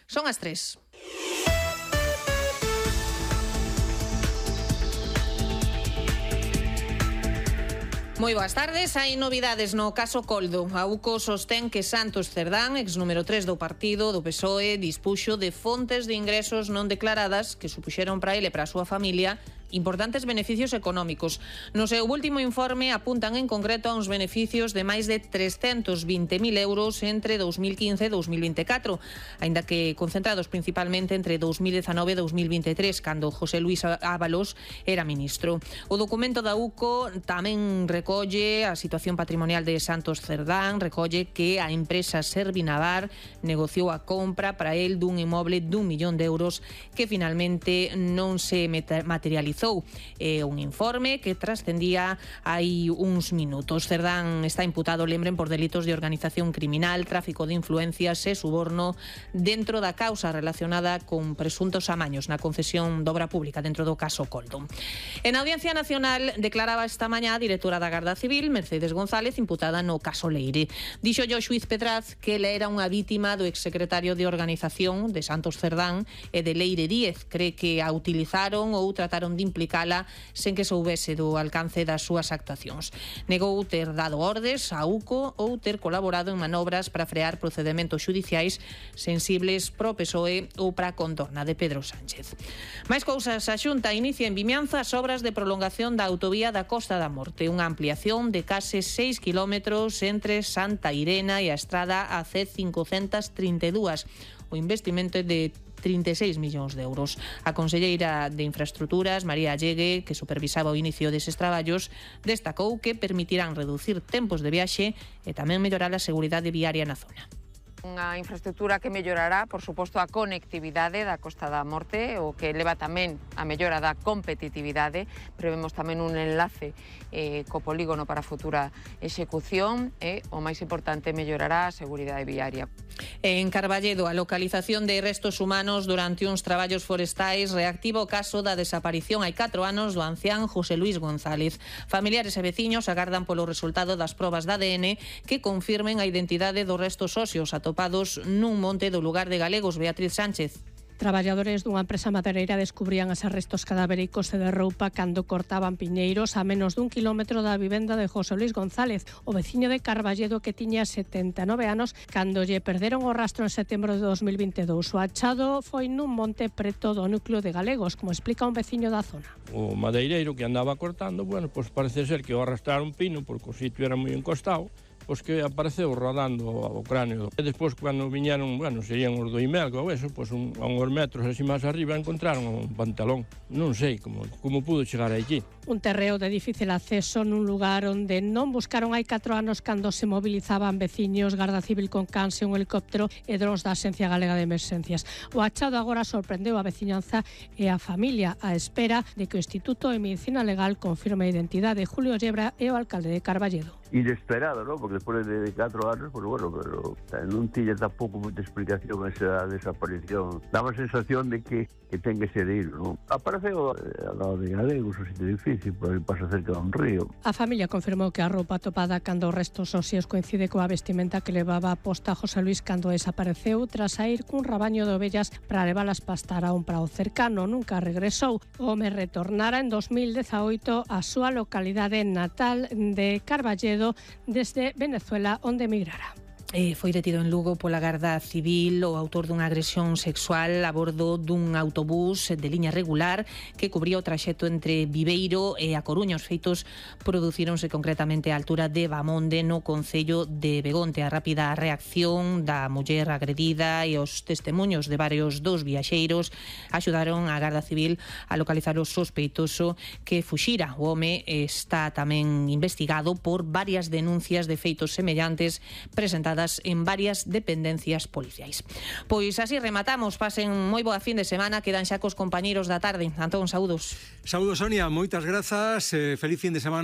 Son as 3. Moi boas tardes. Hai novidades no caso Coldo. A UCO sostén que Santos Cerdán, ex número 3 do partido do PSOE, dispuxo de fontes de ingresos non declaradas que supuxeron para ele e para a súa familia importantes beneficios económicos. No seu último informe apuntan en concreto a uns beneficios de máis de 320.000 euros entre 2015 e 2024, aínda que concentrados principalmente entre 2019 e 2023, cando José Luis Ábalos era ministro. O documento da UCO tamén recolle a situación patrimonial de Santos Cerdán, recolle que a empresa Servinavar negociou a compra para el dun inmoble d'1 millón de euros que finalmente non se materializou. É un informe que trascendía hai uns minutos. Cerdán está imputado, lembren, por delitos de organización criminal, tráfico de influencias e suborno dentro da causa relacionada con presuntos amaños na concesión de obra pública dentro do caso Coldo. En Audiencia Nacional declaraba esta mañá a directora da Garda Civil, Mercedes González, imputada no caso Leire. Dixo o xuíz Petraz que ela era unha vítima do exsecretario de Organización de Santos Cerdán e de Leire Díez. Cree que a utilizaron ou trataron de implicala sen que soubese do alcance das súas actuacións. Negou ter dado ordes a UCO ou ter colaborado en manobras para frear procedementos xudiciais sensibles pro PSOE ou para a contorna de Pedro Sánchez. Mais cousas, a Xunta inicia en Vimianzo as obras de prolongación da autovía da Costa da Morte, unha ampliación de case 6 kilómetros entre Santa Irena e a estrada AC532. O investimento é de 36 millóns de euros. A conselleira de Infraestructuras, María Allegue, que supervisaba o inicio deses traballos, destacou que permitirán reducir tempos de viaxe e tamén mellorar a seguridade viaria na zona. Unha infraestructura que mellorará, por suposto, a conectividade da Costa da Morte, o que leva tamén a mellora da competitividade. Prevemos tamén un enlace co polígono para a futura execución e, o máis importante, mellorará a seguridade viaria. En Carballedo, a localización de restos humanos durante uns traballos forestais reactiva o caso da desaparición hai 4 anos do ancián José Luis González. Familiares e veciños agardan polo resultado das probas de ADN que confirmen a identidade dos restos óseos atopados nun monte do lugar de Galegos. Beatriz Sánchez. Traballadores dunha empresa madeireira descubrían os restos cadavéricos e de roupa cando cortaban piñeiros a menos dun kilómetro da vivenda de José Luis González, o veciño de Carballedo que tiña 79 anos cando lle perderon o rastro en setembro de 2022. O achado foi nun monte preto do núcleo de Galegos, como explica un veciño da zona. O madeireiro que andaba cortando, pois parece ser que o arrastraron un pino porque o sitio era moi encostado, pois que apareceu rodando o cráneo. E despois, cando viñeron, serían os do Imelgo ou eso, pois a uns metros así máis arriba encontraron un pantalón. Non sei como pudo chegar aquí. Un terreo de difícil acceso nun lugar onde non buscaron hai 4 anos cando se movilizaban veciños, Garda Civil con cans e un helicóptero e drons da Axencia Galega de Emerxencias. O achado agora sorprendeu a veciñanza e a familia á espera de que o Instituto de Medicina Legal confirme a identidade. Julio Llebra é o alcalde de Carballedo. Inesperado, ¿no? Porque después de 4 anos, pues bueno, pero non tiña tampouco moita explicación esa desaparición. Daba a sensación de que ten que ser ir, ¿no? Apareceu ao lado de Galegos, o sitio difícil, por aí pasa cerca dun río. A familia confirmou que a roupa atopada cando os restos óseos coincide coa vestimenta que levaba posta José Luis cando desapareceu tras saír cun rabaño de ovellas para levalas pastar a un prado cercano. Nunca regresou. O home retornara en 2018 á súa localidade natal de Carballedo desde Venezuela, onde emigrara. Foi detido en Lugo pola Garda Civil o autor dunha agresión sexual a bordo dun autobús de liña regular que cubría o traxecto entre Viveiro e A Coruña. Os feitos producíronse concretamente á altura de Bamonde, no concello de Begonte. A rápida reacción da muller agredida e os testemuños de varios dos viaxeiros axudaron a Garda Civil a localizar o sospeitoso que fuxira. O home está tamén investigado por varias denuncias de feitos semellantes presentadas en varias dependencias policiais. Pois así rematamos. Pasen moi boa fin de semana. Quedan xa cos compañeiros da tarde. Antón, saúdos. Saúdos, Sonia. Moitas grazas. Feliz fin de semana.